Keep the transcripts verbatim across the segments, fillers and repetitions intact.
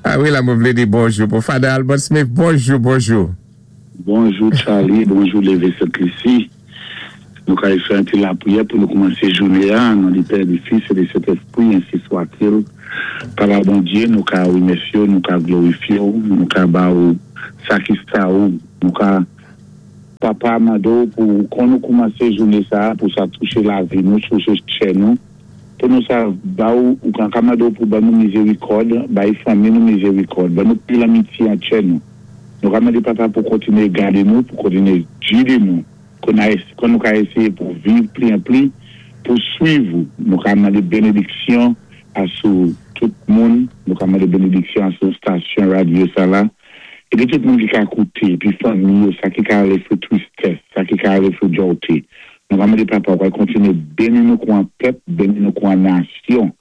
Ah wi, la, mwen vlé di bonjou pou Father Albert Smith. Bonjou, bonjou. Bonjou Charlie, bonjou Lévé Sent-Lisi. Nou kay fè yon ti lapriyè pou nou koumansé jouné an, an non di Pè, di Fis é di Sentèspwi, ensi swa-t-il. Papa Bondyé, nou ka wimèsyé ou, nou ka glorifyé ou, nou ka ba ou sa ki sa ou, nou ka Papa mandé ou pou kon nou koumansé jouné sa, pou sa touché lavi nou, touché chè nou, pou nou sa ba ou, ou kan ka mandé ou pou ba nou mizérikòd, bay fanmi nou mizérikòd, ba nou pli lamitye an chè nou. Nou ka mandé Papa pou kontiné gadé nou, pou kontiné gidé nou, kon kon nou ka ésyé pou viv pli an pli, pou swiv ou. Nou ka mandé bénédiksyon a sou tout moun, nou ka mandé bénédiksyon a sou stasyon radyo sa la, épi tout moun ki ka kouté, épi fanmi yo, sa ki ka alé sou tristès, sa ki ka alé sou jòté. Nou ka mandé Papa pou kontiné béni nou kon pèp, béni nou kon nasyon,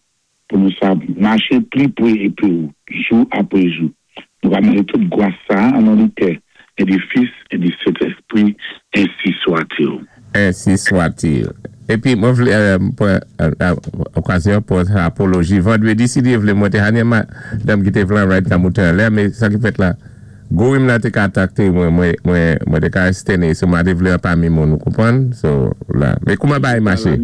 pou nou sa maché pli pwé épi ou, jou apwé jou. Nou ka mandé tout gwa sa an non di Pè, é di Fis, é di Sentèspwi, ensi swa-t-il. Ensi swa-t-il. Épi, mwen vlé, euh, pran okazyon pou apoloji. Vandwédi, si Dye vlé, mwen té hanye madanm ki té vlé ride ka mouté an lè, mé sa ki fèt la, Gourim la té ka kontakté mwen, mwen, mwen, mwen té ka esténé, so mwen té vlé an pami moun, ou konpwann? So, la. Mé kouman bay maché?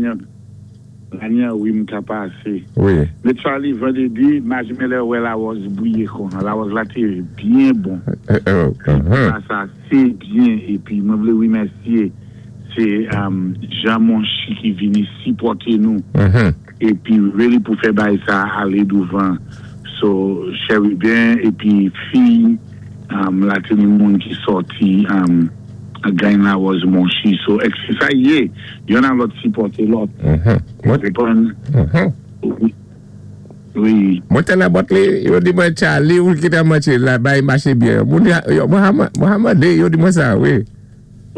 Lanye wi m ka pasé. Wi. Mé Charlie, vandwédi, majmè lè wè Lawòz bwiyé kon. Lawòz la té byen bon. Euh, euh, uh-huh. Sa, sa, sé byen. Épi, mwen vlé wimèsyé, sé um, Jean Monchi ki vini sipòté nou. Mhm. Épi, really pou fè bay sa alé douvan. So, Cherubin, épi fi, um, la té ni moun ki sòti, um, Gany Lawòz Monchi. So, ek sé sa yé, yonn a lòt sipòté lòt. Mhm. Mwen, Konpwann? mhm. Wi. Wi. Mwen té nan bòt li, yo di mwen Charlie ou ki ta maché la, bay maché byen. Moun ya, yo, Mohamed, Mohamed, yo di mwen sa, wi.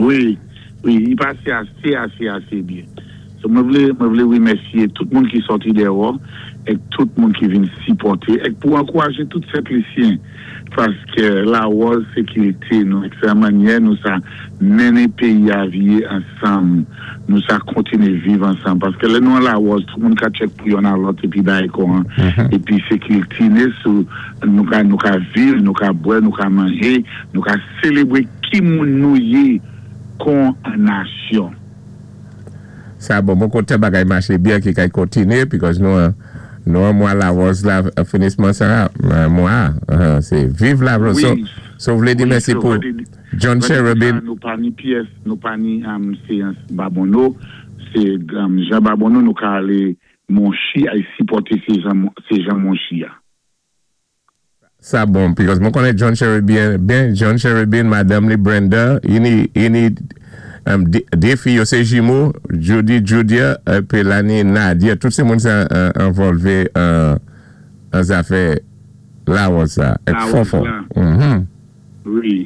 Wi, wi, i pasé asé, asé, asé byen. So, mwen vlé, mwen vlé wimèsyé tout moun ki sòti déwò é tout moun ki vin sipòté é pou ankourajé tout Sent-Lisyen paské Lawòz sékirité nou, ek sé mannyè nou sa mennen péyi a viyé ansanm, nou sa kontiné viv ansanm paské lè nou an Lawòz, tout moun ka tchèk pou yonn a lòt épi bay kon épi sékirité né sou nou ka nou ka viv, nou ka bwè, nou ka manjé, nou ka sélébwé ki moun nou yé kon an nasyon. Sa bon, bon koté bagay maché byen ki kay kontiné, because nou an, nou an mwa Lawòz la, finisman sa, mwa, uh, sé viv Lawòz. Wi. So, so vlé di Wi, mèsi so pou vlé di- John Cherubin. Nou pa ni pyès, nou pa ni um, séyans Babonneau, sé um, Jean Babonneau nou ka alé Monchi ay sipòté sé Jean, sé Jean Monchi a. Sa bon, because mwen konnen John Cherubin, ben John Cherubin, madanm li Brenda, ini, ini, um, dé fi yo sé jimo, Judy, Judia, épi lani Nadia, tout sé moun sa uh, envolvé an an zafè Lawòz sa, ek Lawòz fon fon. la. Mhm. Wi.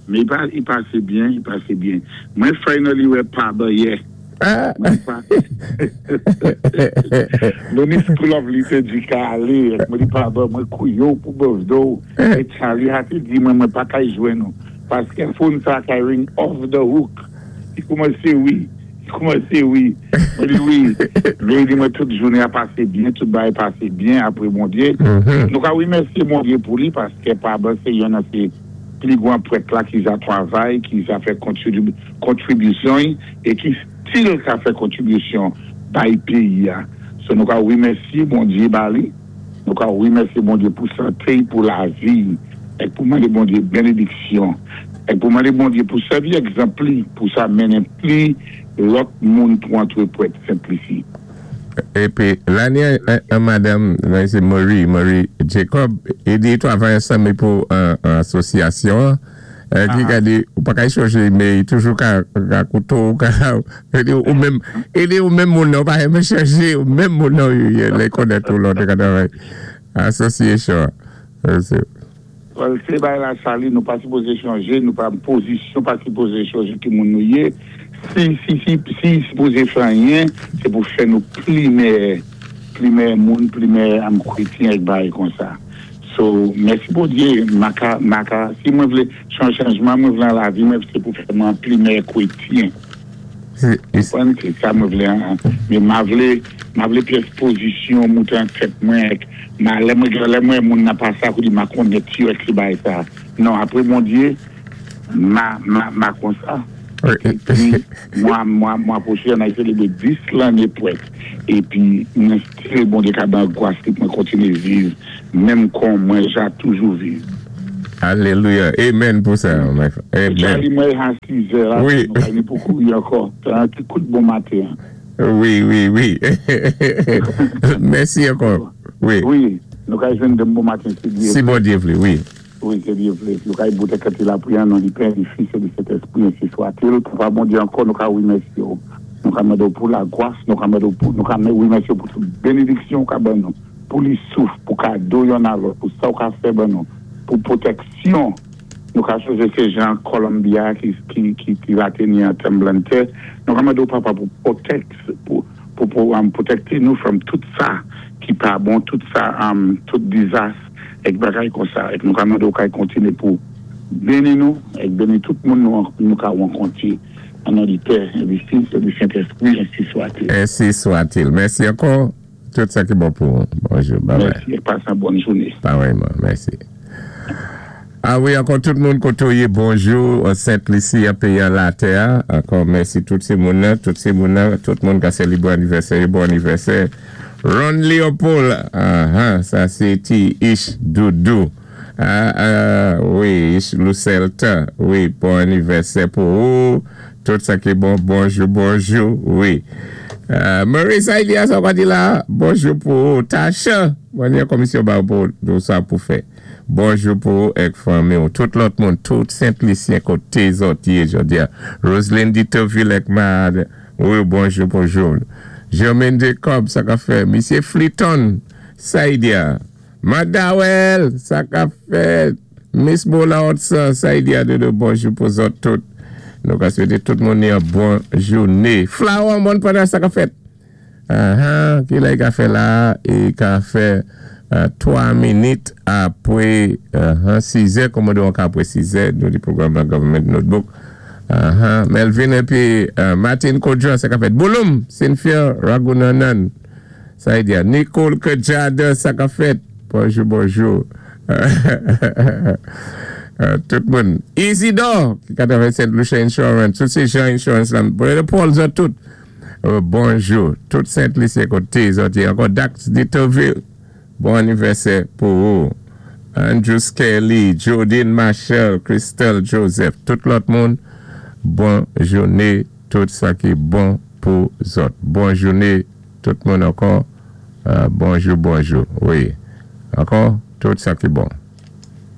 Mé i pa, i pasé byen, i pasé byen. Mwen finally wè pa yè. Ah. Mwen pa. Nou ni School of Liturgy ka alé, mwen di pa mwen kouyo pou birthday, é Charlie a té di mwen mwen pa kay jwenn nou. Paské phone sa kay ring off the hook. I koumansé wi, i koumansé wi. Mwen di wi, mwen di mwen tout jouné a pasé byen, tout bagay pasé byen apwé Bondyé. Mhm. Nou ka wimèsyé Bondyé pou li paské pa sé yonn nan sé pli gwan prèt la ki ja travay, ki ja fè kontribu- kontribisyon é ki still ka fè kontribisyon bay péyi a. So nou ka wimèsyé Bondyé ba li, nou ka wimèsyé Bondyé pou santé, pou lavi, é pou mandé Bondyé bénédiksyon, é pou mandé Bondyé pou sèvi egzanp li, pou sa mennen pli lòt moun pou antré prèt Sent-Lisi. Épi, lani an, an madanm, nan sé Marie, Marie Jacob, i di travay ansanm pou an, an asosyasyon, euh, ki Ah. ka di, ou pa ka chanje, mé i toujou ka, ka kouto, ka, i di ou menm, i di ou menm moun nan, ou pa renmen chanje, ou menm moun nan, yo, lè konnen tou lòt ka travay. Association. Euh, sé- Well, sé bay la Charlie, nou pa sipozé chanje, nou pa pozisyon pa sipozé chanje ki moun nou yé. Si, si, si, si sipozé fè anyen, sé pou fè nou pli meyè, pli meyè moun, pli meyè am krétyen ak bagay kon sa. So, mèsi Bondye, ma ka, ma ka, si mwen vlé chan chanjman, mwen vlé an lavi, mwen sé pou fè mwen pli meyè krétyen. Konpwann sé sa mwen vlé, mé ma vlé, ma vlé pyès pozisyon mouté an tèt mwen, ma lè mwen lè mwen moun nan pa sa kou di ma konnèt yo ek si bay sa. Non, apwé Bondyé, ma, ma, ma konsa. Épi, mwa, mwa, mwa pwochen an ay sélébré dis lanné pwèt. Épi, mwen still Bondyé ka ban gwas ki mwen kontiné viv, menm kon mwen ja toujou viv. Alelouya. Amen pou sa. Amen. Charlie, mwen a sis è la, Wi. nou pa ni pou kouri ankò. Sé an ti kout bon maten. Wi, wi, wi. Mèsi ankò. Wi. Wi, nou ka jwenn denmen bon maten, si Dye Si Bondyé vlé, wi. Wi, si Dye vlé. Nou ka bout kèt lapwiyè an non di Pè, di Fis é di Sentèspwi, ensi swa-t-il. Papa Bondyé ankò, nou ka wimèsyé ou. Nou ka mandé pou lagwas, nou ka mandé pou, nou ka wimèsyé ou pou tout bénédiksyon ka ban nou, pou li souf, pou kado yon a lòt, pou sa ou ka fè ban nou, pou pwotèksyon. Nou ka chonjé sé jan Columbia ki, ki, ki, ki va teni an tranblemanntè. Nou ka mandé Papa pou protect, pou, pou, pou um, pwotekté nou from tout sa ki pa bon, tout sa, um, tout dizas, ek bagay konsa. Ek nou ka mandé ou ka kontiné pou béni nou, ek béni tout moun nou, nou ka wankonti. An non di Pè, é di Fis, é di Sentèspwi, ensi swa-t-il. Ensi swa-t-il. Mèsi ankò. Tout sa ki bon pou ou. Bonjou. Bye bye. Mèsi, é pasé an bòn jouné. Parèyman. Mèsi. A wi, ankò tout moun koté ou yé, bonjou, Sent Lisi, a péyi latè. Ankò mèsi tout sé moun tout sé moun tout moun ka sélébré anivèsè, bon anivèsè. Ron Leopold, ah, ah, sa sé ti Ish Doudou. Ah, ah, wi, Ish Lucelta, wi, bon anivèsè pou ou. Tout sa ki bon, bonjou, bonjou, wi. Euh, Marissa Elias, on va di la, bonjou pou ou. Tasha, bon, yon komisyon ba pou nou sa pou fè. Bonjou pou ou ek fanmi ou. Tout lòt moun, tout Sent-Lisyen koté zòt yé jodi a. Roselyne Ditoville ek Mad, wi, bonjou, bonjou. Germaine Jacob, sa ka fè. Misye Fliton, Saïdia. Madawel, sa ka fè. Miss Bola Otsa, Saïdia de bonjou pou zòt tout. Nou ka swété tout moun yon bon jouné. Flower, bon pandan sa ka fèt. Uh-huh, ki la i ka fè la, i ka fè twa minit apwé sis è, kòmodé an ka apwé sis è, nou di pwogram nan Government Notebook. Uh-huh, Melvin épi Martin Kodjo, sa ka fèt. Bouloum, Cynthia Ragunanan, sa i di a. Nicole Kajada, sa ka fèt. Bonjou, bonjou. Tout moun. Isidore, ki ka travay Saint Lucia Insurance, tout sé jan insurance la. Paul zòt tout. Bonjou. Tout Sent-Lisyen koté zòt yé. Ankò Dax Ditoville. Bon anivèsè pou ou. Andrew Skelly, Jodine Marshall, Christelle Joseph. Tout lòt moun. Bon jouné. Tout sa ki bon pou zòt. Bon jouné. Tout moun ankò. Bonjou, bonjou. Wi. Ankò, tout sa ki bon.